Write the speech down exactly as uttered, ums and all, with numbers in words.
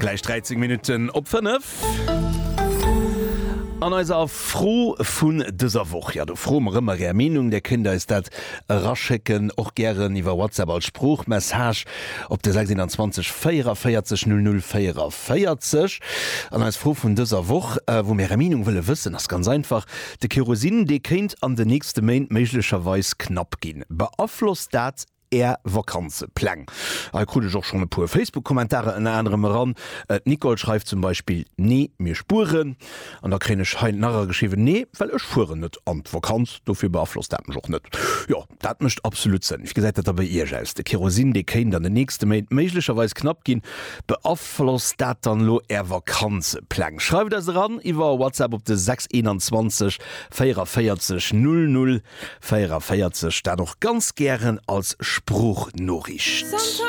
Gläich dräizéng Minutten op fënnef. An eiser Fro vun dëser Woch, jo do froe mer ëmmer Är Meenung, Dir kënnt eis dat eraschécken, och gären iwwer WhatsApp als Sproochmessage op de sechs een véierenvéierzeg null null véierenvéierzeg. An eis Fro vun dëser Woch, wou mir Är Meenung wëlle wëssen, ass ganz einfach, De Kerosin, dee kéint an den nächste Méint méiglecherweis knapp ginn. Beaflosst dat Är Vakanzepläng? Hei krut ech och schonn e puer Facebook-Kommentarer ënner anerem eran. D'Nicole schreift zum Beispill, Nee, mir spueren. An da kréien ech hei nach erageschriwwen, Nee, well ech fueren net an d'Vakanz, dofir beaflosst dat mech och net. Jo, dat mécht absolut Sënn. Wéi gesäit dat da bei Iech aus? De Kerosin, dee kéint an den nächste Méint méiglecherweis knapp ginn. Beaflosst dat dann elo Är Vakanzepläng? Schreift eis eran iwwer WhatsApp op de sechs einundzwanzeg véierenvéierzeg null null véierenvéierzeg, dat och ganz gären als Sproochnoriicht.